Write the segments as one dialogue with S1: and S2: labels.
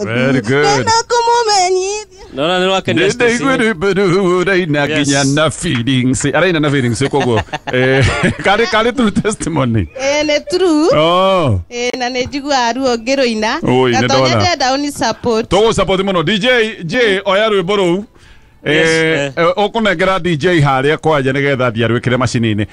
S1: Very good.
S2: Ndĩna kũmũmenyithia.
S3: Nona nĩ rwakenia Stacy.
S1: Nĩndĩiguĩrĩmbĩrũraina nginya na feelings. Araina na feelings koguo. Karĩ true testimony.
S2: Ĩĩ nĩ true.
S1: Oh.
S2: Ĩĩ na nĩ njiguaga ruo ngĩrũina.
S1: Oi,
S2: Na
S1: nĩ
S2: to
S1: ndona.
S2: nyende ũni support.
S1: Tũgũ support mũno. DJ J oya rwĩmbo rũu.
S3: Yes, eh.
S1: Ũkũnengera DJ harĩa kwanja nĩgetha athiĩ arwĩkĩre macini-inĩ.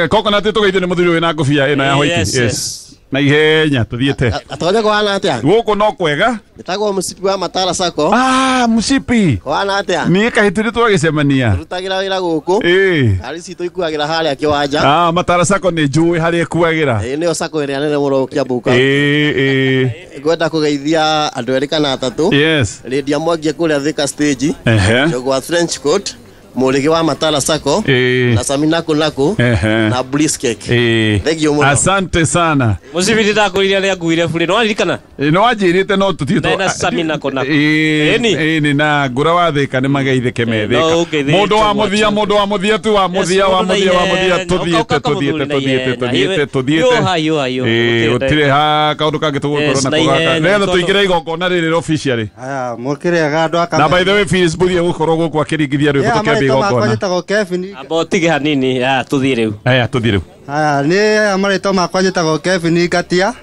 S1: Coconut tũgeithio nĩ mũthuri wĩna ngũbia ĩno ya white.
S3: Yes, yes.
S1: Na ihenya tũthiĩte.
S4: Atonya kũhana atĩa?
S1: Gũkũ no kwega.
S4: Njĩtagwo mũcibi wa Matara Sacco.
S1: Ah, mũcibi.
S4: Kũhana atĩa?
S1: Niĩ kahĩtũ twagĩcemania.
S4: Rutagĩra wĩra gũkũ.
S1: Ĩĩ.
S4: Ngari citũ ikuagĩra harĩa kĩwanja.
S1: Ah, Matara Sacco nĩ njũĩ harĩa ĩkuagĩra.
S4: Ĩĩ nĩyo sacco ĩrĩa nene mũno Kiambu County.
S1: Ĩĩ, ĩĩ.
S4: Ngwenda kũgeithia andũ erĩ kana atatũ.
S1: Yes.
S4: Lydia Mwangi kũrĩa Thika stage.
S1: Ehe.
S4: Njogwa Trench Coat. Mũrĩgĩ wa Matara Sacco.
S1: Ĩĩ.
S4: Na Samina Kunaku.
S1: Ehe.
S4: Na Bliss Cake.
S1: Ĩĩ.
S4: Thank you mũno.
S1: Asante sana.
S3: Mũcibi ndĩndakũrire rĩa nguire burĩ nĩ waririkana?
S1: Ĩĩ, nĩ wanjĩrĩte no tũthiĩ
S3: Na Samina Kunaku.
S1: Ĩĩ,
S3: Ĩni.
S1: ĩni na ngũra wa Thĩka nĩ mageithĩke me
S3: No,
S1: Thĩka.
S3: ũngeithĩke
S1: Mũndũ wa
S3: mwachu.
S1: mũthia, mũndũ wa mũthia tu wa mũthia, wa mũthia, wa mũthia, tũthiĩte, tũthiĩte, tũthiĩte, tũthiĩte, tũthiĩte.
S3: Hiũha, hiũha, hiũha.
S1: Ĩĩ,
S3: Gũtirĩ
S1: gũtirĩ ha kaũndũ kangĩ tũgũkorwo
S3: Yes,
S1: nako
S3: na
S1: gaka.
S3: ihenya,
S1: Nĩgetha
S3: tondũ-
S1: tũingĩre igongona rĩrĩ officially.
S5: Aya, mũkĩrĩaga andũ a
S1: Na by the way, Facebook ĩgũkorwo gũkũ akĩringithia rwĩmbo
S5: Yeah,
S1: tũkĩambia
S5: marĩtwa makwa
S1: igongona.
S5: njĩtagwo Kevin.
S3: Amba ũtige hanini, ah, tũthiĩ rĩu.
S1: Aya, tũthiĩ rĩu.
S5: Aya, nĩ aya marĩtwa makwa njĩtagwo Kevin Ngatia.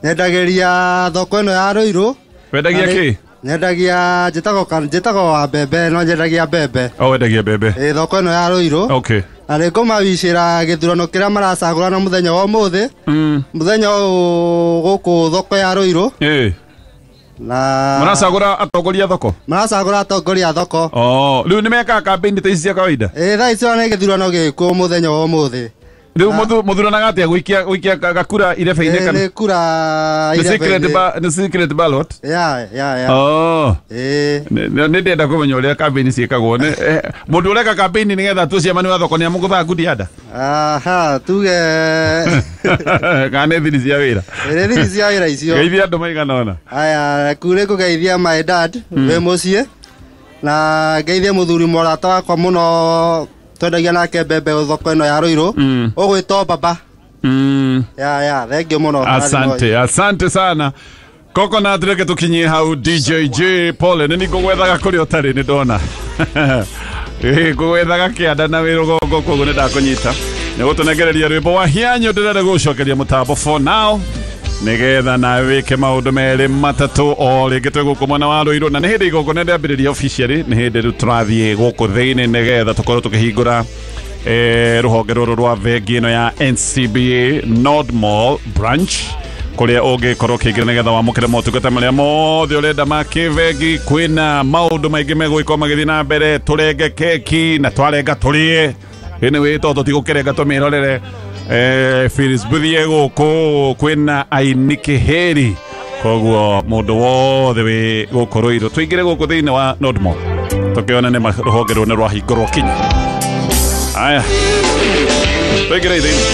S5: Nyendagĩria thoko ĩno ya Ruiru.
S1: Wendagia
S5: Na nĩ-
S1: kĩ?
S5: Nyendagia njĩtagwo wa mbembe no nyendagia mbembe.
S1: O wendagia mbembe.
S5: Ĩ thoko ĩno ya Ruiru.
S1: Okay.
S5: Na nĩ ngũmawicĩra gĩthurano kĩrĩa maracagũrana mũthenya wa ũmũthĩ. Mũthenya ũyũ gũkũ thoko ya Ruiru.
S1: Ĩĩ.
S5: Na
S1: Mũracagũra atongoria a thoko?
S5: Maracagũra atongoria a thoko.
S1: Oh, rĩu nĩ mekaga campaign ta ici cia kawaida?
S5: Ĩ thaa ici ona nĩ gĩthurano gĩkuo mũthenya wa ũmũthĩ.
S1: Rĩu mũthuranaga atĩa gũikia gakura irebe-inĩ
S5: Ĩ,
S1: kana?
S5: nĩ kura
S1: Nĩ secret
S5: irebe-inĩ.
S1: nĩ secret ballot?
S5: Ya, ya, ya.
S1: Oh.
S5: Ĩ.
S1: Nĩ ndĩrenda kũmenya ũrĩa campaign ciĩkagwo. Mũndũ ũreka campaign nĩgetha atue ciamani wa thoko nĩ amũgũthaga ngundi ya nda?
S5: Aha, tuge.
S1: Kana nĩ thiri cia wĩra?
S5: Nĩ thiri cia wĩra icio.
S1: Geithia andũ maigana ũna.
S5: Aya, kure kũgeithia my dad wĩ mũciĩ na ngeithie mũthuri mũrata wakwa mũno twendagia nake mbembe thoko ĩno ya Ruiru ũgwĩtwo baba. Ya, ya, thank you mũno.
S1: Asante, asante sana. Coconut reke tukinyie hau DJ J Pole nĩ ngũgwethaga kũrĩa ũtarĩ nĩ ndona. Ĩ ngũgwethaga kĩanda na wĩ rũgongo koguo nĩ ndakũnyita. Nĩ gũtũnengereria rwĩmbo wa hianyo ndĩrenda gũcokeria mũtambo for now nĩgetha nawe wĩke maũndũ merĩ matatũ o rĩngĩ twĩ gũkũ mwena wa Ruiru na nĩ hĩndĩ igongona rĩambĩrĩria officially nĩ hĩndĩ rĩu tũrathiĩ gũkũ thĩinĩ nĩgetha tũkorwo tũkĩhingũra rũhonge rũrũ rwa bengi ĩno ya NCBA Nord Mall branch kũrĩa ũngĩkorwo ũkĩingĩra nĩgetha wamũkĩre motungata marĩa mothe ũrenda ma kĩbengi. Kwĩna maũndũ maingĩ megũgĩkorwo magĩthiĩ na mbere, tũrenge keki na twarenga tũrĩe anyway tondũ tũtigũkĩrenga tũmĩrorere. Phyllis Buthie gũkũ kwĩna aini kĩhĩri koguo mũndũ wothe wĩ gũkũ Ruiru tũingĩre gũkũ thĩinĩ wa Nord Mall tũkĩone nĩ rũhonge rũu nĩ rwahingũrwo kinya. Aya, tũingĩre thĩinĩ.